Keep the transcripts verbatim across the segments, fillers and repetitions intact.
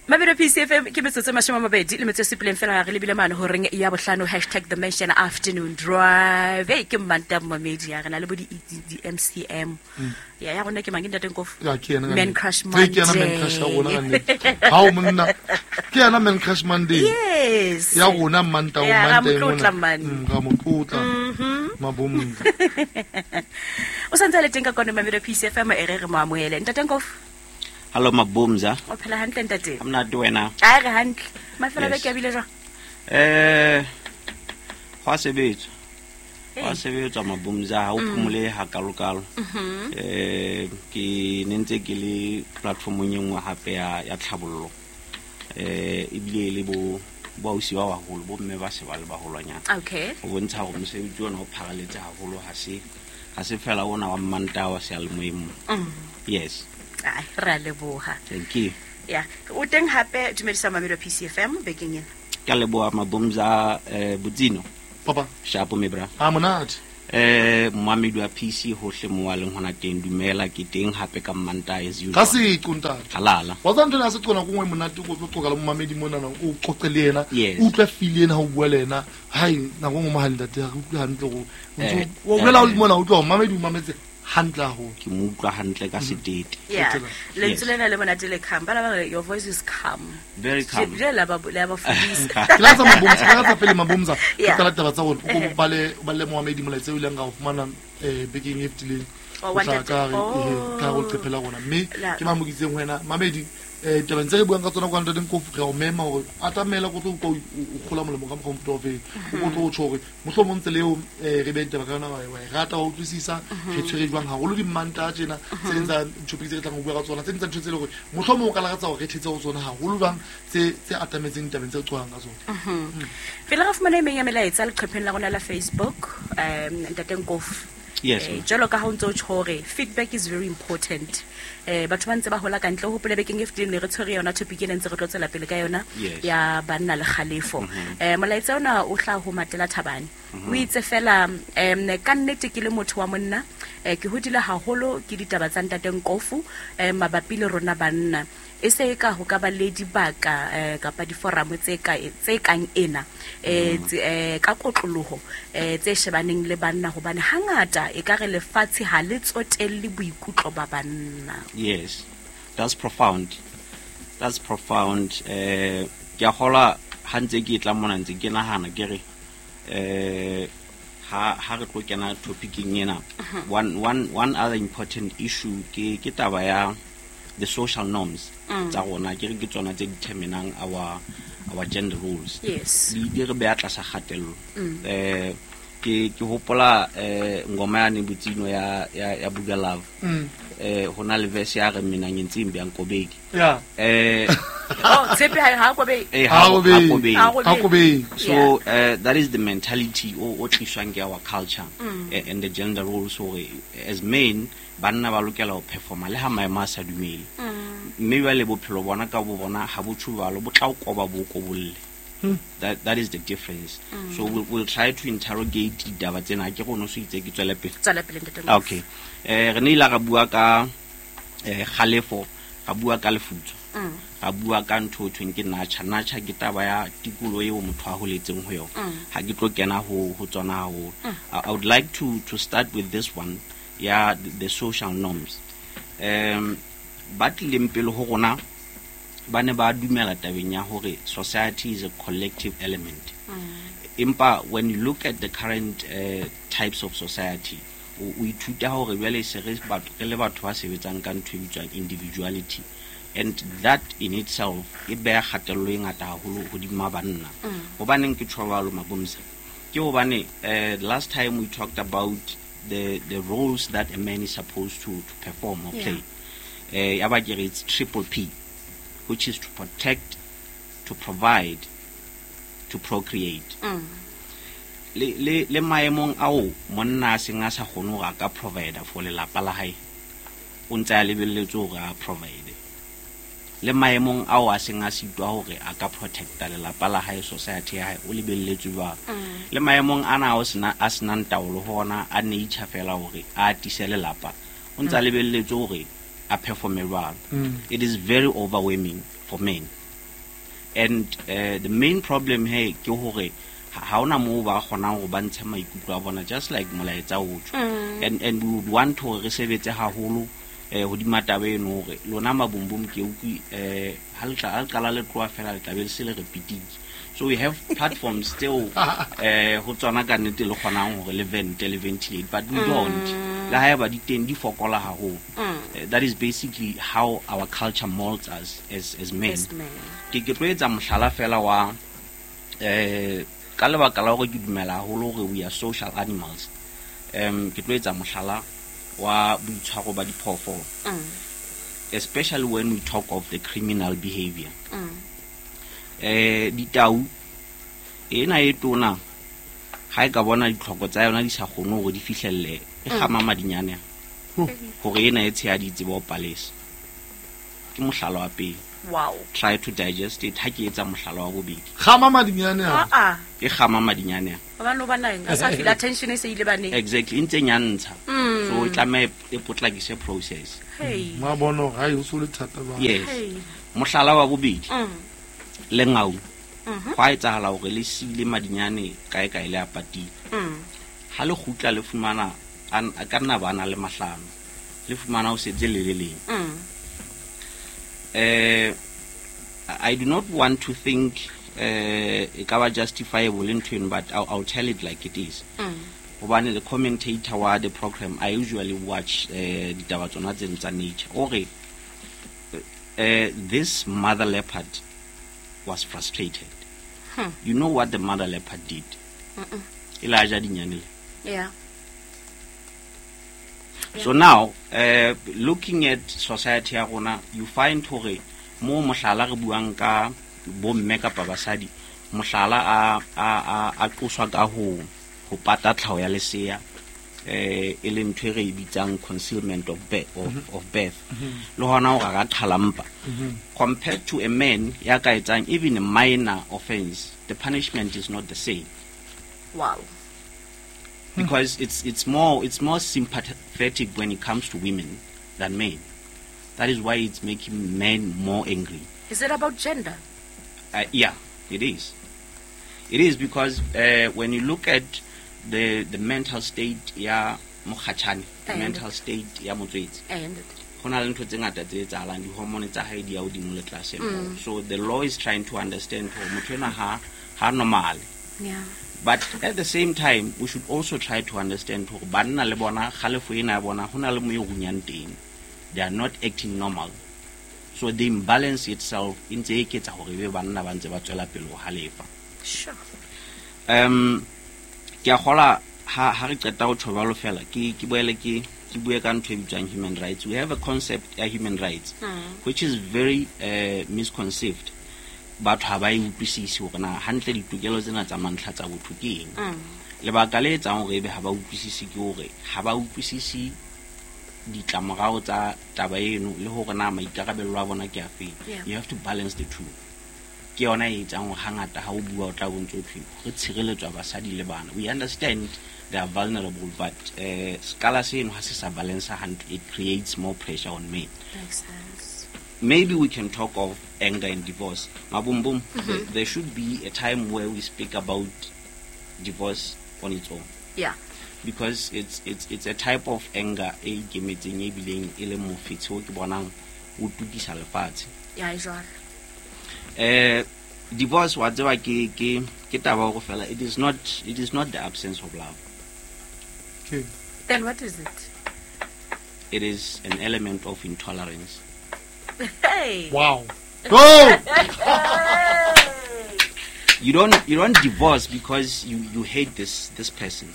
Mabelo P C F M ke metsotso e mashome a mabedi le metso e supileng fela re lebile mane horeng ya bohlano, hashtag the Mansion Afternoon Drive. Hey, ke Mmanta Mmamedi ya rena le bo di, di, di M C M. Mm. Ya, ya rona ke mang ke ntate Nkofu? Ya, ke yena ka Man nnete. Crush Ke yena Man Crush ya rona ka nnete. Ha o monna. Ke yena Man Crush Monday. Yes. Ya rona Mmanta o Ya, ra Monday motlotla mona. man. Mm, ra motlotla. Mhm. Mabomza. O santse a le teng ka kwano Mabelo P C F M, e re re mo amohele. Ntate Nkofu. Hello Mabomza. O phela hantle ntate? Ha monate wena? A re hantle. Mafelo a Yes. beke a bile jwang? Eh, ho a sebetswa. Ho a Hey. sebetswa Mabomza, ha o Mm. phomole hakalokalo. Mhm. Eh, ke ne ntse ke le platformong e nngwe hape ya, ya tlhabollo. Eh, ebile le bo, bo ausi ba baholo, bo mme ba se ba le baholwanyana. Okay. Ho bontsha hore mosebetsi ona o pharaletse haholo, ha se, ha se fela ona wa Mmantaha wa seyalemoyeng mona. Mm. Yes. Ai, re a leboha. Thank you. Ya, o teng hape dumedisa Mamelo P C F M bekeng ena. Ke a leboha Mabomza, eh, Botsino. Papa. Shapo me bra. Ha monate. Eh, moamedi wa P C hohle mo a leng hona teng, dumela, ke teng hape ka Mmantaha as usual. Ka seqo ntate. Halala. Wa tseba ntho ena ya seqo nako e nngwe e monate, o tlo qoqa le momamedi monana, o qoqe le yena, Yes. o utlwe feel ena ha o bua le yena. Hai, nako e nngwe mohale ntate, ha re utlwe hantle hore o ntso Eh, o bolela eh. mona, o utlwa hore momamedi o mametse hantle haholo. Ke mo utlwa hantle ka setete. Yeah. Setete. Lentswe Yes. lena le monate le calm. Ba la ba re, your voice is calm. Very calm. Je la ba la ba fodisa. Ke la tsa Mabomza, ke la tsa pele Mabomza. Ke Yeah. qala taba tsa rona. O Eh. bale, o bale moamedi molaetsa o ileng ra o fumana, eh, bekeng e fetileng. Oh, O wa tla ntate. ka re, Oh. eh, ka re o leqephe la rona. Mme La- ke mamokitseng ho wena. Mamedi, eh, tabeng tse re buang ka tsona kwa ntate Nkofu, re a o mema hore atamela ko tlo utlwa o, o kgola molemo ka mokgwa o mofuta o feng. O tlo tjho hore mohlomong tsela eo, eh, re beang taba ka yona, wa e, wa e rata, wa utlwisisa, re tshwere jwang haholo di-Mmantaha tjena, tse ding tsa ditopic tse re tlang ho bua ka tsona, tse ding tsa ntho tse leng hore mohlomong o ka lakatsa hore re thetse ho tsona haholo jwang, tse, tse atametseng ditabeng tse re qoqang ka tsona. Mhm. Pele re fumana e meng ya melaetsa leqepheng la rona la Facebook, um, ntate Nkofu. Yes, Eh, ma'am. jwalo ka ha o ntso o tjho hore feedback is very important. Eh, batho ba ntse ba hola ka ntle. O hopole bekeng e fetileng ne re tshwere yona topic ena ntse re tlo tswela pele ka yona Yes. ya banna le kgalefo. Mm-hmm. Eh, molaetsa ona o hlaha ho Matela Thabane. Mm-hmm. O itse fela, em, ka nnete ke le motho wa monna, eh, ke hodile haholo ke ditaba tsa ntate Nkofu, eh, mabapi le rona banna. E se e ka ho ka ba le dibaka, eh, kapa diforamo tse ka, tse kang ena, eh, Mm. tse, eh, ka kotloloho, eh, tse shebaneng le banna, hobane hangata e ka re lefatshe ha le tsotelle boikutlo ba banna. Yes, that's profound. That's profound. Eh, ke a kgolwa ha ntse ke tla mona ntse ke nahana ke re, eh, ha, ha re tlo kena topicing ena, Mm-hmm. one, one, one other important issue ke, ke taba ya the social norms Mm. tsa rona, ke re ke tsona tse determinang our, our gender roles. Yes. Di, di re beha tlasa kgatello. Mm. Eh, ke, ke hopola, eh, ngoma yane Botsino ya, ya, ya Buga Love. Mm. Eh, ho na le verse ya re mina ngentsimbi ankobeki. Yeah. Eh, Oh, tshepe ha, ha kobeki. eh, Ha ha kobeki. ha kobeki. Ha kobeki. Ha kobeki. So, uh, that is the mentality o, o tliswang ke our culture, Mm. eh, and the gender roles hore as men banna ba lokela ho performa le ha maemo a sa dumele. Mm. Mme jwale bophelo bona ka bo bona ha bo tjho jwalo, bo tla o koba bo o kobolle. Hmm. That, that is the difference. Mm. So we'll, we'll try to interrogate ditaba tsena. Ke rona o so itse ke tswele pele. Tswela pele, ntate Nkofu. Okay. Eh, re ne ile ra bua ka, eh, kgalefo, ra bua ka lefutso. Mm. Ra bua ka ntho e thweng ke nature. Nature ke taba ya tikoloho eo motho a holetseng ho yona. Mm. Ha ke tlo kena ho, ho tsona haholo. Mm. I, I would like to, to start with this one, ya the, the social norms. Um, ba tlileng pele ho rona ba ne ba dumela tabeng ya hore society is a collective element. Mm. Empa when you look at the current, uh, types of society, o, o ithuta hore jwale se re batho, re le batho ba sebetsang ka ntho e bitswang individuality, and that in itself e beha kgatello e ngata haholo hodima banna. Mm. Hobaneng ke tjho jwalo, Mabomza? Ke hobane, eh, last time we talked about the, the roles that a man is supposed to, to perform or Yeah. play. Eh, ya ba ke re it's triple P, which is to protect, to provide, to procreate. Mm. Le, le, le maemong ao monna a seng a sa kgone hore a ka provide for lelapa la hae, o ntse a lebelletse hore a provide. Le maemong ao a seng a sitwa hore a ka protecta lelapa la hae, society ya hae, o lebelletswe jwalo. Mm. Le maemong ana ao sena, a senang taolo ho ona, a nature fela hore a atise lelapa, o ntse a lebelletse hore a performe jwalo. Mm. It is very overwhelming for men. And uh, the main problem here ke hore ha hona moo ba kgonang ho ba ntshe maikutlo a bona, just like molaetsa o tjho. And and we would want hore re sebetse haholo eh hodima taba eno, hore lona mabumbum ke utlwi eh ha le tla ha le qala le tloha fela le tla be le se le repeatile. So we have platforms tseo eh ho tsona ka nnete le kgonang hore le vent le ventilate, but we don't. Le haeba di teng di fokola haholo. Eh, that is basically how our culture molds us as as men. As men. Ke ke tlo etsa mohlala fela wa eh ka lebaka la hore ke dumela haholo hore we are social animals. Um ke tlo etsa mohlala wa boitshwaro ba diphoofolo. Mm. Especially when we talk of the criminal behavior. Mm. Eh ditau ena e tona ha e ka bona ditlhoko tsa yona di sa kgone hore di fihlelle, e kgama madinyane Oh. hore ena e tshehadi tsebe ho palesa. Ke mohlala wa pele. Wow. Try to digest it. Ha ke etsa mohlala wa bobedi. Kgama madinyane Ah a. ah. E kgama madinyane a. Hobane o bona eng? A sa feel attention e se ile baneng. Exactly, e ntse nyantsha. Mm. So e tlameha e potlakise process. Hey. Ma bona hore hai o so le thata ba. Yes. Hey. Mohlala wa bobedi, Mm. lengau. Mhm. Hwa etsahala hore le siile madinyane kae kae le a patile. Mm. Ha le kgutla le fumana a n-, a ka nna ba na le mahlano. Le fumana ho setse le le leng. Mm. Eh, I do not want to think eh e ka ba justifiable ntho eno, but I'll, I'll tell it like it is. Mm. Hobane the commentator wa the program, I usually watch eh ditaba tsona tse tsa nature. O re, eh, this mother leopard was frustrated. Hmm. You know what the mother leopard did? Mm-mm. E la ja dinyane le. Yeah. So now, uh, looking at society ya rona, you find hore mo mohlala re buang ka bomme kapa basadi, mohlala a, a, a, a qoswa ka ho, ho pata tlhaho ya lesea, eh, e leng ntho e re e bitsang concealment of birth, of, Mm-hmm. of birth. Mm-hmm. Le hona hore a ka qhala mpa. Mm-hmm. Compared to a man ya ka etsang even a minor offense, the punishment is not the same. Wow. Because it's, it's more, it's more sympathetic when it comes to women than men. That is why it's making men more angry. Is it about gender? Uh, yeah, it is. It is because, uh, when you look at the, the mental state ya mokgatjhane, the And mental state ya motswetse, And ho na le ntho tse ngata tse etsahalang, di-hormone tsa hae di ya hodimo le tlase. Mm. So the law is trying to understand hore motho enwa ha, ha normal. Yeah. But at the same time, we should also try to understand hore banna le bona kgalefo ena ya bona ho na le mo e runyang teng. They are not acting normal. So the imbalance itself e ntse e eketsa hore ebe banna ba ntse ba tswela pele ho halefa. Sure. Um, ke a kgola ha, ha re qeta ho tjho jwalo fela, ke, ke boele ke, ke bue ka ntho e bitswang human rights. We have a concept ya human rights, Mm. which is very, uh, misconceived. Batho ha ba e utlwisise hore na hantle ditokelo tsena tsa mantlha tsa botho ke eng. Mm. Lebaka le etsang hore ebe ha ba utlwisise ke hore ha ba utlwisise ditlamorao tsa taba eno le hore na maikarabelo a bona ke a feng. Yeah. You have to balance the two. Ke yona e etsang hore hangata ha o bua o tla bo ntso thwe re tshireletswa basadi le bana. We understand they are vulnerable, but, uh, skala seno ha se sa balance hantle, it creates more pressure on men. Makes sense. Maybe we can talk of anger and divorce. Mabumbum, Mm-hmm. there, there should be a time where we speak about divorce on its own. Yeah. Because it's, it's, it's a type of anger e ikemetseng e bileng e le mofetshe o ke bonang o tukisa lefatshe. Yeah, e jwalo. Eh, divorce wa tseba ke, ke, ke taba hore fela it is not, it is not the absence of love. Okay. Then what is it? It is an element of intolerance. Hey. Wow. Go! You don't, you don't divorce because you, you hate this, this person.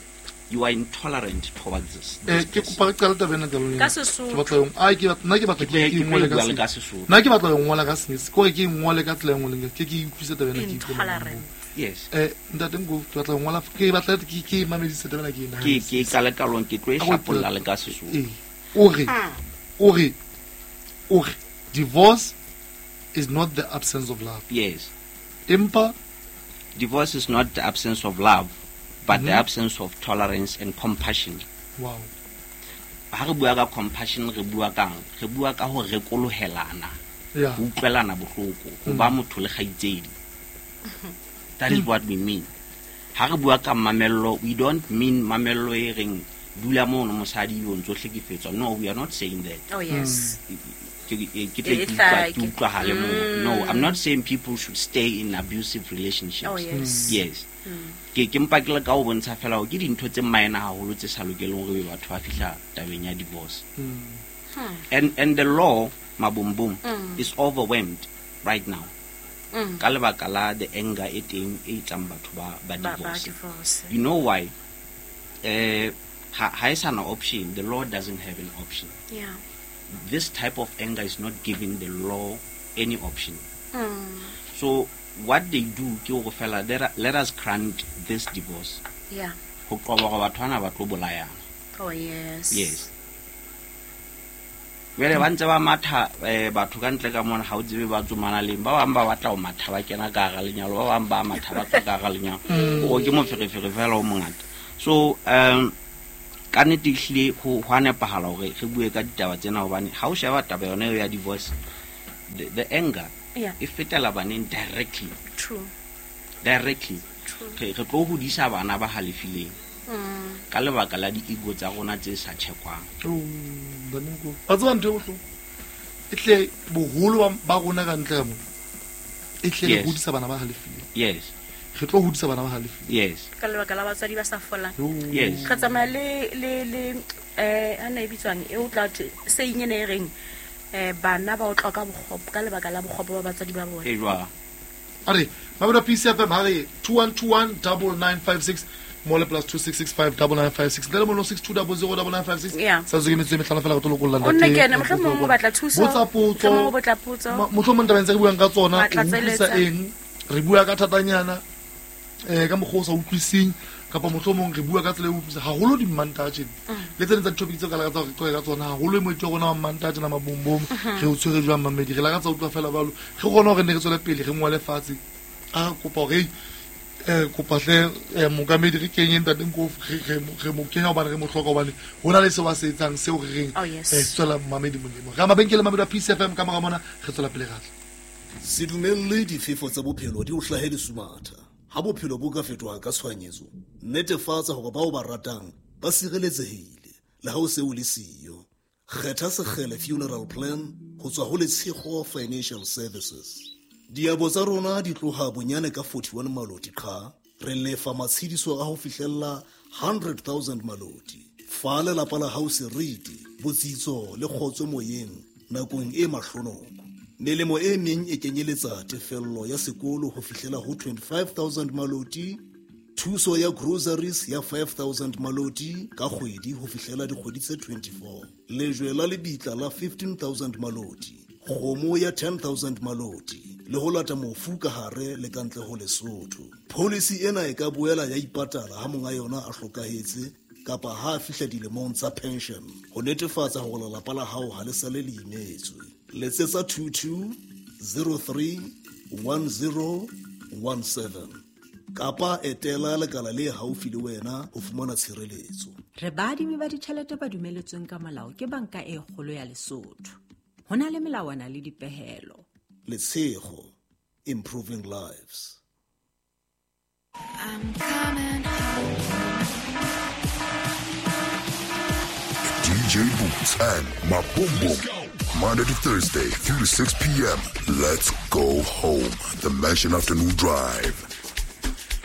You are intolerant towards this, Eh, this ke person. kopa re qale taba ena ka lona. Ka Sesotho. Ke batla ho- ai, ke batla, nna ke batla Ke tlo- ke ke tlo ingwale e ka bua le se- ka Sesotho. Nna ke batla ho ngola ka Senyesemane. Ke hore ke ingwale ka tsela e nngwe le nngwe. Ke ke utlwisise taba ena, ke utlwe Intolerant. Yes. Eh, ntate Nkofu, ke batla ho ngola, ke batla ke, ke mamedise taba ena ke e Ke, nahane. ke qale ka lona, ke tlo e Ka ho hlapolla le ka Sesotho. Ee. O re, o re, o re, divorce is not the absence of love. Yes. Empa Divorce is not the absence of love, but the Mm-hmm. absence of tolerance and compassion. Wow. Ha re bua ka compassion, re bua kang? Re bua ka ho rekolohelana. Yeah. Ho utlwelana bohloko, ho ba motho le kgaitsedi. That is what we mean. Ha re bua ka mamello, we don't mean mamello e reng dula mono mosadi yo ntso hlekefetswa. No, we are not saying that. Oh yes. Ke ke tle ke utlwa ke utlwahale moo. No, I'm not saying people should stay in abusive relationships. Oh yes. Yes. Ke ke mpa ke le ka o bontsha fela hore ke dintho tse minor haholo tse sa lokeleng hore batho ba fihla tabeng ya divorce. Hmm. And and the law, mabumbum, Mm. is overwhelmed right now. Mm. Ka lebaka la the anger e teng e etsang batho ba ba Ba ba divorce. divorce. You know why? Eh ha ha e sa na option. The law doesn't have an option. Yeah. This type of anger is not giving the law any option. Mm. So what they do ke hore fela let us grant this divorce. Yeah. Ho qoba hore batho bana ba tlo bolayana. Oh yes. Yes. Jwale ba ntse ba matha eh batho ka ntle ka mona ha o tsebe ba tsomana leng, ba bang ba batla ho matha ba kena ka hara lenyalo, ba bang ba matha ba tswa ka hara lenyalo. O ke moferefere fela o mongata. So um ka nnete ehlile ho ho a nepahala hore re bue ka ditaba tsena hobane ha o sheba taba yona eo ya divorce, the, the anger Yeah. e fetela baneng directly. True. Directly. True. Re re tlo hodisa bana ba halefileng. Mm. Ka lebaka la di-ego tsa rona tse sa chekwang. Oh, baneng ko. Ba tseba ntho e bohloko. E tle boholo ba rona ka ntle ka mo. E tle re Yes. hodisa bana ba halefileng. Yes. Re tlo hodisa bana ba halefileng. Yes. Ka lebaka la batswadi ba sa folang. Oh. Yes. Re tsamaya le le le eh ana e bitswang e o tla thwe se eng ene e reng eh bana ba o tloka bokgopo ka lebaka la bokgopo ba batswadi ba bona. E jwang? A re, Mamelodi P C F M ha re two one two one double nine five six mole plus two six six five double nine five six ntle le mono six two double zero double nine five six. Yeah. Sa tswe ke metsotso e mehlano fela re tlo lokolla O nne ntate. ke ene, mohlomong o batla thuso. Botsa potso. Mohlomong o batla potso. Ma-, mohlomong tabeng tse re buang ka tsona, Wa o utlwisa tlatseletsa. eng? Re bua ka thatanyana, eh, ka mokgwa o sa utlwising, kapa mohlomong re bua ka tsela e utlwisang haholo di Mmantaha tjena. Mm. Le tse ding tsa di-topic tseo ka lakatsa hore re qoqe ka tsona, haholo e moeti wa rona wa Mmantaha tjena, mabombom, Mhm. re o tshwere jwang mamedi? Re lakatsa ho utlwa fela jwalo. Re kgone hore ne re tswele pele, re ngwale fatshe. A kopa hore, eh, kopa hle, eh, mookamedi re kenye ntate Nkofu, re, re, re mo kenya hobane re mo hloka, hobane ho na le seo a se etsang, seo re reng, Oh, yes. eh, se tswela mamedi molemo. Re ya mabenkele Mamelodi a P C F M ka mora mona, re tswela pele re tla. Se dumelle difefo tsa bophelo di o hlahe lesumatha. Ha bophelo bo ka fetoha ka tshohanyetso, netefatsa hore bao ba ratang ba sireletsehile le ha o se o le siyo. Kgetha Sekgele Funeral Plan ho tswa ho Letshego Financial Services. Diabo tsa rona di tloha bonyane ka forty-one maloti qha, re lefa matshediso a ho fihlella hundred thousand maloti. Fa lelapa la hao seriti, botsitso le kgotso moyeng nakong e mahlonoko. Melemo e meng e kenyeletsa tefello ya sekolo ho fihlela ho twenty-five thousand maloti, thuso ya groceries ya five thousand maloti ka kgwedi ho fihlela dikgwedi tse twenty-four, lejwe la lebitla la fifteen thousand maloti, kgomo ya ten thousand maloti, le ho lata mofu ka hare le ka ntle ho Lesotho. Policy ena e ka boela ya ipatala ha monga yona a hlokahetse kapa ha a fihla dilemong tsa pension, ho netefatsa hore lelapa la hao ha le sale le imetswe. Letsetsa two two zero three one zero one seven kapa etela lekala le haufi le wena ho fumana tshireletso. Re baadimi ba ditjhelete ba dumeletsweng ka molao ke banka e kgolo ya Lesotho. Ho na le melawana le dipehelo. Letshego, improving lives. I'm coming home. D J Boots and Mabombom. Monday to Thursday, three to six P M. Let's go home. The Mansion Afternoon Drive.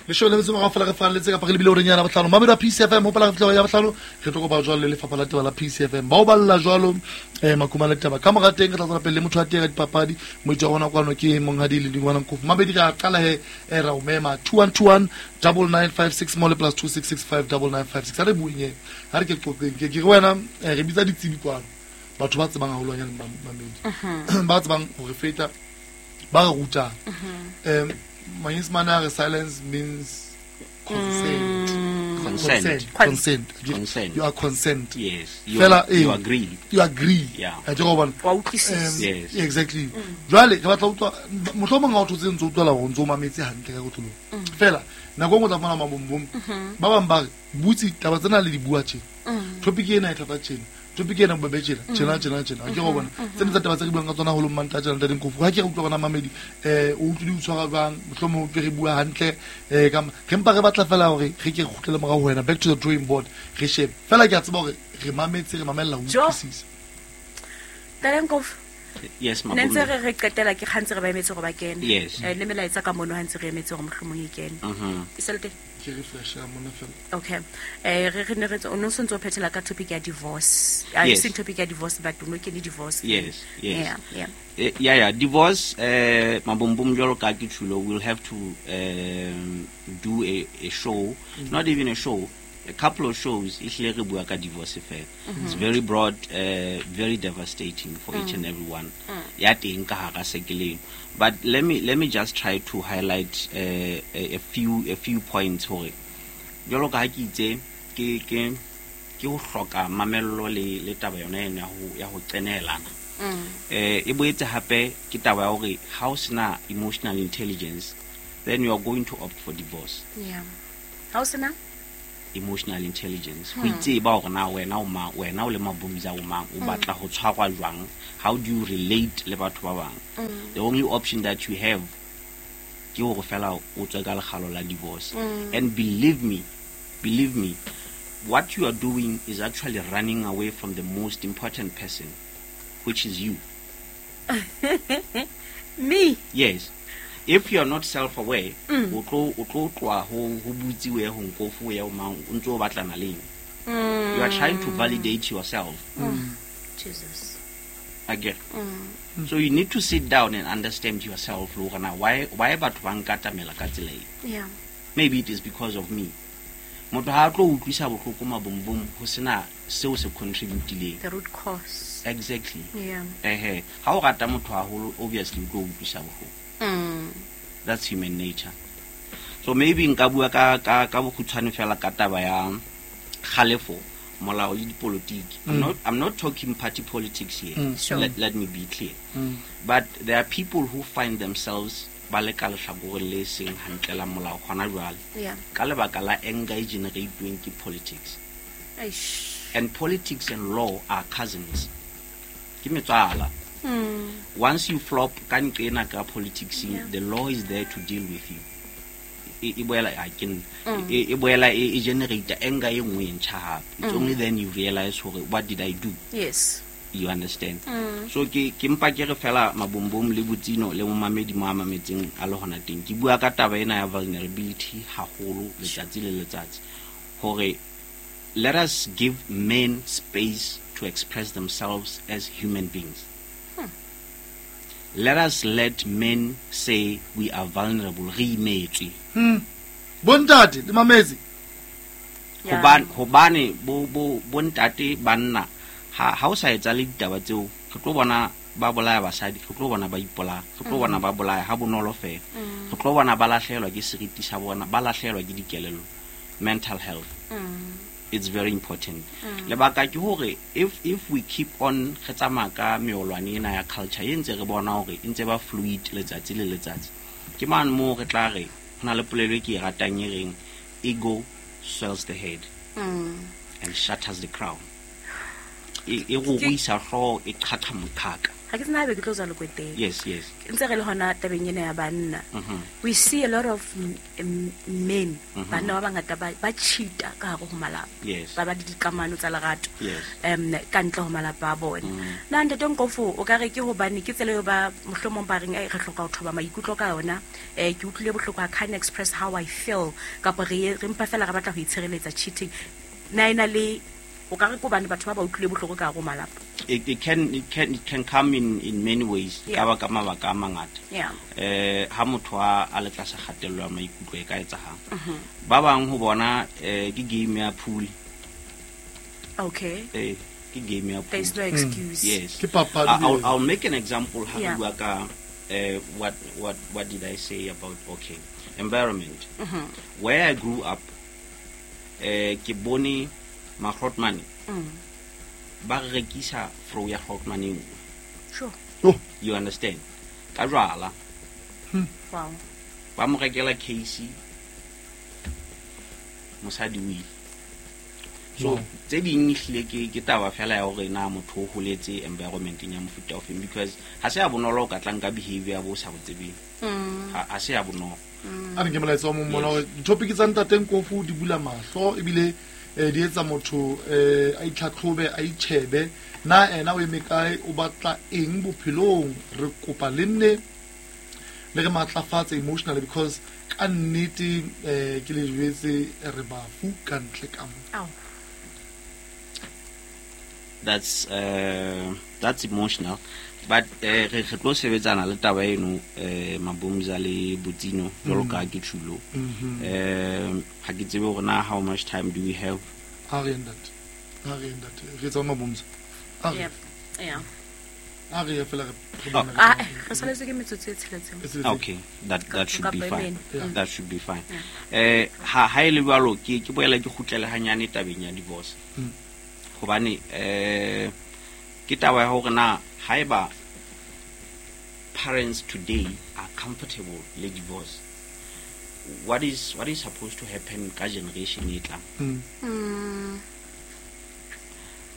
Leshome le metso e meraro fela re falletse kapa re lebile horeng ya bohlano. Mamelodi a P C F M, hopola re fihla ya bohlano, re tlo kopa jwalo le lefapha la taba la P C F M. Ba o balla jwalo, eh, Makumane le taba. Ka mora teng re tla tswela pele le motho wa teng ya dipapadi, moetsi wa rona kwano ke Monghadi le Dingwana Nkofu. Mabedi re a qala he, eh, ra o mema two one two one double nine five six mole plus two six six five double nine five six. Ha re bueng he, ha re ke qoqeng. Ke, ke re wena, eh, re bitsa ditsebi kwano. Batho ba tsebang haholwanyane Mamedi. Mhm. Ba tsebang ho re feta, ba re rutang. Mhm. Em, Manyesemane a re silence means consent. Mm. Consent. Consent. Consent. Consent. You are consent. Yes. You, Fela, you eh, agree. You agree. Yeah. Ha ke go bona. Wa utlwisisa. Em, Yes. Exactly. Mm. Jwale re batla ho utlwa, mohlomong ha o thotse ntse o utlwela hore o ntse o mametse hantle ka kotloloho. Mm. Fela nako e nngwe o tla fumana mabombom. Mm-hmm. Ba bang ba re butse taba tsena le di bua tjena. Mm. Topic ena e thata tjena. Topic ena bo bejela tjena tjena tjena ke go bona tsene tsa taba tse re buang ka tsona holo mmanta tjena ntate Nkofu ha ke re utlwa bona mamedi eh o utlwile o tshwara jwang mohlomong o re bua hantle eh ka re mpa re batla fela hore re ke kgutlele morao ho wena back to the drawing board re shebe fela ke a tseba hore re mametse re mamella ho utlwisisa. Ntate Nkofu. Yes, ne ntse re re qetela ke kgantse re ba emetse gore ba kene. Yes. Eh, le melaetsa ka mono ha ntse re emetse gore mohlomong e kene. Mhm. E sele teng? Ke refresh ya mona fela. Okay. Eh re re ne re o no sontso phethela ka topic ya divorce. I Yes. seen topic ya divorce but no ke divorce. Yes, yes. Yeah, yeah. Eh, yeah, yeah. Divorce, eh, Mabombom jwalo ka ke tjhulo, we'll have to um, do a, a show, Mm. not even a show, a couple of shows. Ehlile re bua ka divorce fela. Mm-hmm. It's very broad, uh, very devastating for each Mm. and every one. Ya teng ka hara sekeleng. But let me let me just try to highlight uh, a, a few a few points hore jwalo ka ha ke itse ke ke ke ho hloka mamello le le taba yona ena ya ho ya ho qenelana. Mm. Eh e boetse hape ke taba ya hore ha o sena emotional intelligence, then you are going to opt for divorce. Yeah. Ha o sena? Emotional intelligence ho itseba hore na wena o mang, wena o le Mabomza o mang, o batla ho tshwarwa jwang, how do you relate le batho ba bang. The only option that you have ke hore fela o tswe ka lekgalo la divorce. And believe me, believe me, what you are doing is actually running away from the most important person, which is you. Me. Yes. If you are not self-aware, o tlo o tlo tloha ho ho butsiwe ho Nkofu ya o mang, o ntso o batlana le eng. You are trying to validate yourself. Jesus. Again. So you need to sit down and understand yourself, le hore na why why batho ba nkatamela ka tsela e. Yeah. Maybe it is because of me. Motho ha a tlo utlwisa bohloko Mabombom ho sena seo se contributileng. The root cause. Exactly. Yeah. Ehe, ha o rata motho haholo obviously o tlo utlwisa bohloko. Mm. That's human nature. So maybe nka bua ka ka ka bokgutshwane fela ka taba ya kgalefo, molao le dipolotiki. I'm not I'm not talking party politics here. Mm. Sure. Let, let me be clear. Mm. But there are people who find themselves ba le ka lehlakoreng le seng hantle la molao hona jwale. Yeah. Ka lebaka la anger e generate-weng ke politics. Eish. And politics and law are cousins. Ke metswala. Mm. Once you flop ka nqena ka politics, Yeah. the law is there to deal with you. E e boela a ke e e boela e e generate anger e nngwe e ntjha hape. It's only then you realize hore what did I do? Yes. You understand? Mm. So ke ke mpa ke re fela Mabombom le Botsino le momamedi mo a mametseng a le hona teng. Ke bua ka taba ena ya vulnerability haholo letsatsi le letsatsi. Hore let us give men space to express themselves as human beings. Let us let men say we are vulnerable. Re imetswe. Hmm. Bontate le mametse. Yeah. Hobane hobane bo bo bontate banna ha ha o sa etsa le ditaba tseo re tlo bona ba bolaya basadi, re tlo bona ba ipolaya, re tlo bona ba bolaya ha bonolo fela. Re tlo bona ba lahlehelwa ke seriti sa bona, ba lahlehelwa ke dikelello. Mental health. Mm. It's very important. Lebaka ke hore if if we keep on re tsamaya ka meolwane ena ya culture e ntse re bona hore e ntse ba fluid letsatsi le letsatsi. Ke mane moo re tla re ho na le polelo e ke e ratang e reng ego swells the head Mm. and shatters the crown. E e go ruisa hlooho, e qhaqha moqhaka. Ha ke tsena haebe ke tlo tswa lekweteng. Yes, yes. Ntse re le hona tabeng ena ya banna. Mhm. We see a lot of m- m- men, Mhm. banna ba bangata ba ba cheat-a ka hare ho malapa. Yes. Ba ba le dikamano tsa lerato. Yes. Um ka ntle ho malapa a bona. Mm. Na ntate Nkofu o ka re ke hobane ke tsela eo ba mohlomong ba reng, "Ai, re hloka ho thoba maikutlo ka yona. Eh ke utlwile bohloko, I can't express how I feel." Kapa re re mpa fela re batla ho itshireletsa cheating. Na ena le o ka re ke hobane batho ba ba utlwile bohloko ka hare ho malapa. It, it can it can it can come in in many ways. Yeah. Ka ba ka mabaka a mangata. Yeah. Eh ha motho a a le tlasa kgatello ya maikutlo e ka etsahala. Ba bang ho bona eh ke game ya pool. Okay. Eh ke game ya pool. There's no excuse. Yes. Ke papadi I- I'll, eo. I'll make an example ha re Yeah. bua ka eh what what what did I say about okay environment. Mhm. Where I grew up eh ke bone magrotmane Mm. ba re rekisa fro ya grotmane e nngwe. Sure. Oh, You understand? Ka jwala Wow. ba mo rekela case mosadi o ile. So tse ding ehlile ke ke taba fela ya hore na motho o holetse environment-eng ya mofuta ofeng, because ha se ya bonolo o ka tlang ka behavior bo sa bo tsebeng. Ha ha se ya bonolo. A re nke molaetsa wa mong mona hore di-topic tsa Ntate Nkofu di bula mahlo ebile eh, di etsa motho eh, a itlhatlhobe, a itjhebe na ena o eme kae, o batla eng bophelong. Re kopa le nne le re matlafatse emotionally, because ka nnete eh, ke le jwetse re bafu ka ntle ka mo. Ao. That's uh, that's emotional, but eh, re re tlo sebetsana le taba eno eh Mabumza le Botsino jwalo ka ke tjhulo. Eh ha ke tsebe hore na how much time do we have. Ha re ntate, ha re ntate, re tsa Mabumza. A re Yeah. Yeah. a re ye fela re re Oh. bone re- Ah, re saletswe ke metsotso e tsheletseng. e tsheletseng. Okay, that that should be Kapa e fine. mene. Yeah. That should be fine. Eh ha ha ile jwalo ke ke boela ke kgutlele hanyane tabeng ya divorce. Mm. Hobane eh ke taba ya hore na haeba parents today are comfortable le divorce, what is what is supposed to happen ka generation e tlang? Mm. Mm.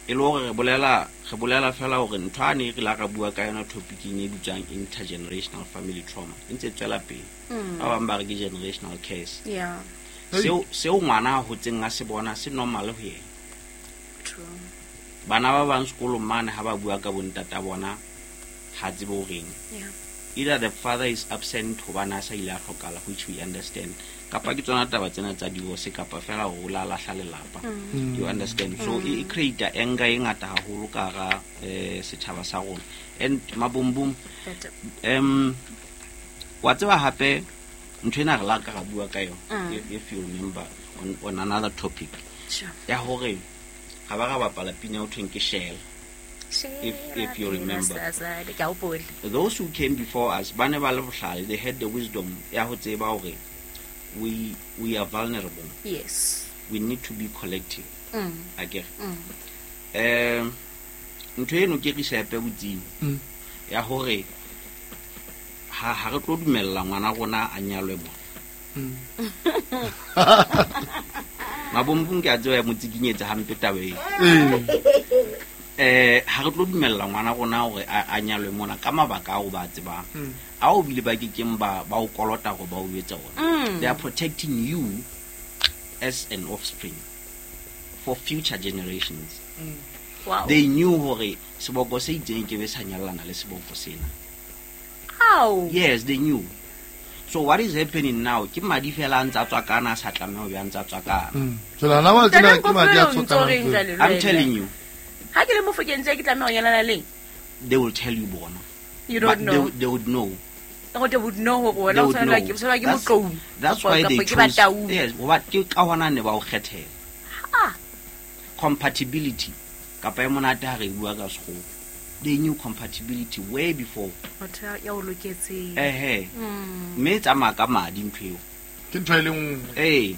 E le hore re bolela re bolela fela hore ntho a ne re la ra bua ka yona topicing e bitswang intergenerational family trauma e ntse e tswela pele. Ba bang ba re ke generational curse. Yeah. Hey. Seo seo ngwana a hotseng a se bona se normal ho yena. True. Bana ba bang sekolong mane ha ba bua ka bontata bona ha tsebe ho reng. Yeah. Either the father is absent hobane a sa ile a hlokala, which we understand, kapa ke tsona taba tsena tsa divorce, kapa fela hore o la lahla lelapa. You understand? So e e create anger e ngata haholo ka hara eh setjhaba sa rona. And Mabumbum, Better. um wa tseba hape ntho ena re la ka ra bua ka yona, Mm. if, if you remember on, on another topic Sure. ya hore ha ba ra bapala pina ho thweng ke Shell. If- if you remember. Ke a hopola. Those who came before us ba ne ba le bohlale, they had the wisdom ya ho tseba hore we we are vulnerable, Yes. we need to be collective. Mm. Akere Mm. um ntho eno ke risepe botsimo Mm. ya hore ha ha re tlo dumella ngwana rona a nyalwe mo. Mm. Mabombong ke a tseba ya mo tsikinyetsa hampe taba eo. Ee. Eh ha re tlo dumella ngwana rona hore a a nyalwe mona ka mabaka ao ba a tsebang, Mm. ao bile ba kekeng ba ba o kolota hore ba o etse ona. Mm. They are protecting you as an offspring for future generations. Wow. They knew hore seboko se itseng ke be sa nyallana le seboko sena. How? Yes, they knew. So what is happening now ke madi fela a ntse a tswakana, a sa tlameha ho be a ntse a tswakana. Mm. Jwale hana wa tsena ke madi a Ntate Nkofu, o ntso reng tswakanang. jwale le I'm wena? telling you, Ha ke le Mofokeng tje ke tlameha ho nyalana leng? they will tell you bona. You But don't know. They, they would know. Go they would know hore They wena o would tshwanelwa know. ke o tshwanelwa ke That's- Motlou. That's Kapa- why they kapa ke chose. Bataung. Yes, hoba ke ka hona ne ba o kgethela. Ah. Compatibility kapa e monate ha re bua ka sekgowa. They knew compatibility way before. Motho ya- ya o loketseng. Ehe. Mm. Mme e tsamaya ka madi ntho eo. Ke ntho e le nngwe. Ee.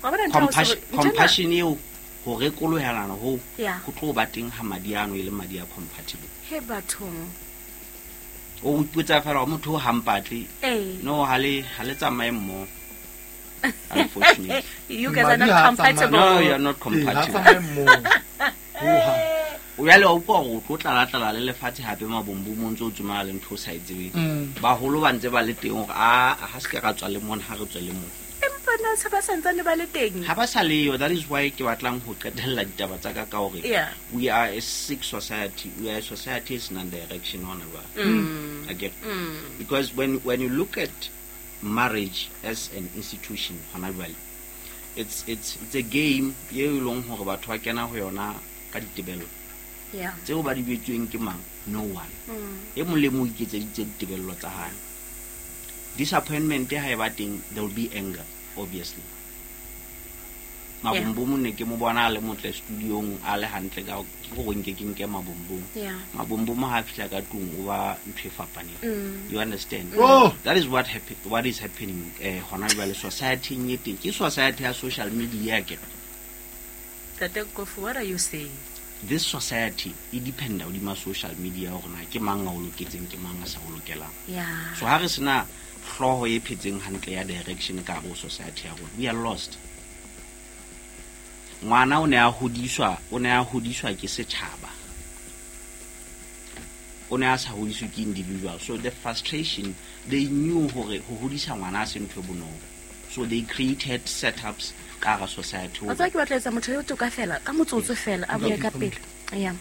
Wa bona ntho ya ho Compassion se- ntho ena- compassion eo ho rekolohelana ho Yeah. ho tlo ba teng ha madi ano e le madi a compatible. He bathong. O ipotsa fela hore motho o hampatle. Eh. No, ha le ha le tsamaye mmoho. Unfortunately. You guys are Madi not ha a compatible. No, you are not Ee, ha compatible. tsamaye mmoho. Hohang. O jwale wa utlwa hore o tlo tlala-tlala le lefatshe hape mabombong o ntse o tsomana le ntho o sa e tsebeng. Mm. Baholo ba ntse ba le teng hore a ha se ke ra tswa le mona, ha re tswe le mona. Empa na se ba santsane ba le teng? Ha ba sa leyo, that is why ke batlang ho qetella ditaba tsa ka ka hore Yeah. we are a sick society. We are a society e senang direction hona jwale. Mm. Akere? Mm. Because when when you look at marriage as an institution hona jwale, it's it's it's a game eo e leng hore batho ba kena ho yona ka ditebello. Yeah. Tseo ba di betsweng ke mang? No one. Mm. E mong le mong o iketseditse ditebello tsa hae. Disappointment ha e ba teng, there will be anger, obviously. Mabombom ne ke mo bona a le motle studiong a le hantle ka ke gore nke ke nke Mabombom. Yeah. Mabombom ha a fihla ka tlung o ba ntho e fapaneng. Mm. You understand? Oh. That is what happen, what is happening eh hona jwale society-eng e teng. Ke society ya social media ke. Ntate Nkofu, what are you saying? This society e dependa hodima social media hore na ke mang a o loketseng, ke mang a sa o lokelang. Yeah. So ha re sena hlooho e phetseng hantle ya direction ka hare ho society ya rona, we are lost. Ngwana o ne a hodiswa, o ne a hodiswa ke setjhaba. O ne a sa hodiswe ke individual. So the frustration, they knew hore ho hodisa ngwana a se ntho e bonolo. So they created setups ka hara society. Wa tseba ke batla etsa motho eo toka fela, ka motsotso fela, a bue ka pele. Yeah.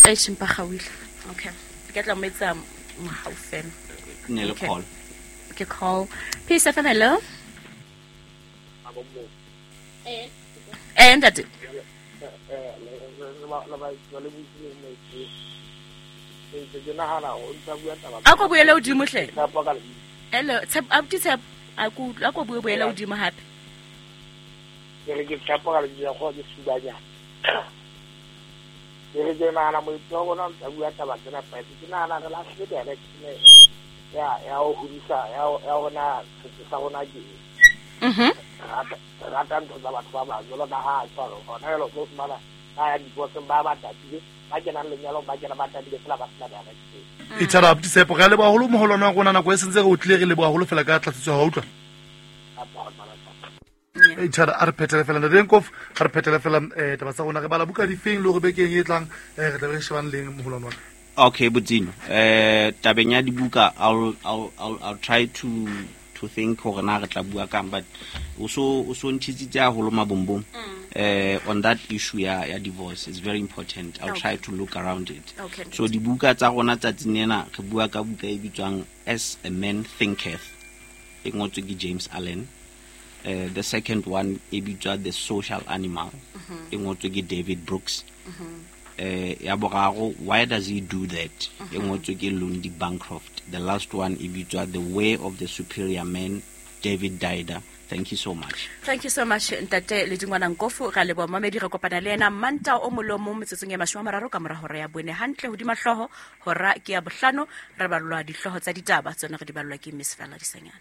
E shimpa gauile. Okay. Ke tla mo etsa mohau fela. Ne le Okay. call. Ke call. Peace F M, hello. Eh, ntate. A ko buele hodimo hle. Hello, Tshepo, abuti Tshepo, a ko a ko bue buele hodimo hape. Ke re ke tshepo ka lebitso la kgoho ke Subanyana. Ke re ke nahana moetsi wa rona o ntsa bua taba tsena fatshe. Ke nahana re lahlile direction ya ya ho hodisa ya ya rona setso sa rona ke eng. Mhm. Re rata re rata ntho tsa batho ba bang jwalo ka ha tshwaro hona jwale o tlo fumana ba ya divorceng ba ba tatile ba kenang lenyalong ba kena ba tatile fela ba sena direction. E thara abuti Tshepo, re a leboha haholo moholwane wa rona, nako e sentse re o tlile, re leboha haholo fela ka tlatsetso ya hao, utlwa. E thara a re phethele fela ntate Nkof, a re phethele fela eh taba tsa rona, re bala buka difeng le hore bekeng e tlang eh re tla be re shebane leng moholwane wa ka. Okay, Botsino. Eh tabeng ya dibuka, I'll I'll I'll I'll try to to think hore na re tla bua kang, but o so o so ntshitsitse haholo mabombong. Eh on that issue ya ya divorce is very important. I'll Okay. try to look around it. Okay. So dibuka tsa rona tsatsing lena re bua ka buka e bitswang As a Man Thinketh, e ngotswe ke James Allen. Uh, the second one e bitswa The Social Animal, e ngotswe ke David Brooks. Eh ya boraro, Why Does He Do That, e ngotswe ke Lundy Bancroft. The last one e bitswa The Way of the Superior Man, David Deida. Thank you so much. Thank you so much ntate Ledingwana Nkofu. Ra leboha mamedi, re kopana le ena Manta o molomo metsotsong e mashome a mararo ka mora hora ya bone hantle hodima hlooho, hora ke ya bohlano, re ballwa dihlooho tsa ditaba tsona re di ballwa ke Miss Fela Disanyana.